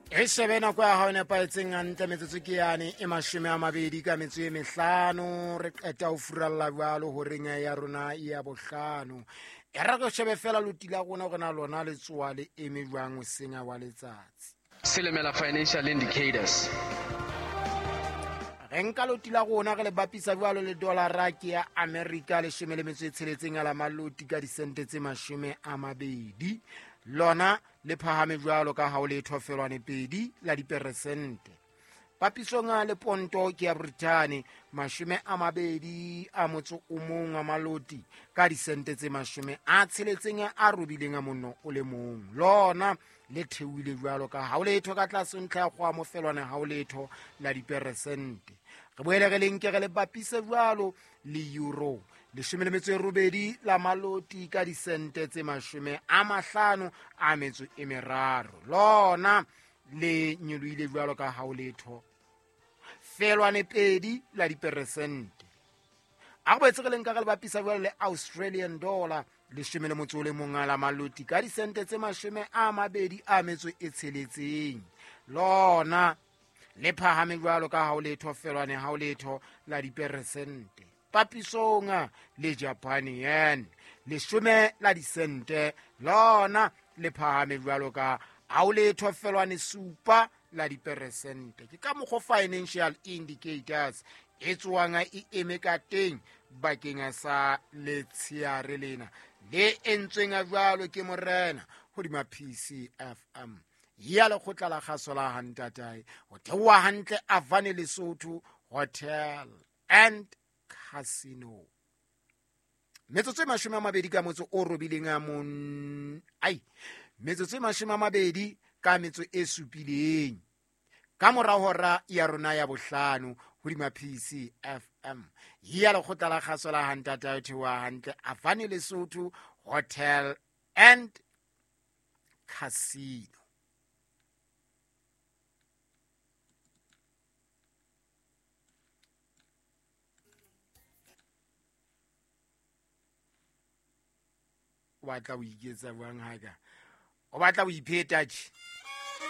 E shebe nako ya hao e nepahetseng hantle. Metsotso ke yane e 25, re qeta ho furalla jwalo horeng ya rona ya bohlano. E re re shebe fela loti la rona hore na lona le tsoa le eme jwang hoseng wa letsatsi. Silimela Financial Indicators. Re nka loti la rona re le bapisa jwalo le dollara ke ya America 16 ya la maloti ka disente tse 20. Lona le phahame jwalo ka ha o letho felwane 2 la diperesente. Papisong le ponto ke ya Britain 21 a maloti ka disente tse 68 a robileng a monno o le mong. Lona le theohile jwalo ka ha o letho ka tlase ntlha ya kgoa mofelwane ha o letho la diperesente. Re boele re le nke re le bapise jwalo le euro 18 la maloti ka disente tse 53. Lona le nyolohile jwalo ka ha o letho felwane 2 la diperesente. A re boetse re le nka re le bapisa jwalo le Australian dollar 11 la maloti ka disente tse 26. Lona le phahame jwalo ka ha o letho felwane ha o letho la diperesente. Papisong le Japan yen 10 la disente, lona le phahame jwalo ka ha o letho felwane 7 la diperesente. Ke ka mokgwa Financial Indicators e tsoang e eme ka teng bakeng sa letsheare lena le entsweng jwalo ke morena hodima PCFM ya lekgotla la kgaso la hantatae ho theoha hantle Avane Lesotho Hotel and Casino. Metsotso e 20 ka motso o robileng a mon ai metsotso e 20 ka metso e supileng ka mora hora ya rona ya bohlano hodima PCFM ya lekgotla la kgaso la hantatae ho theoha hantle Avane Lesotho Hotel and Casino. O batla ho iketsa jwang haka? O batla ho ipheta tje?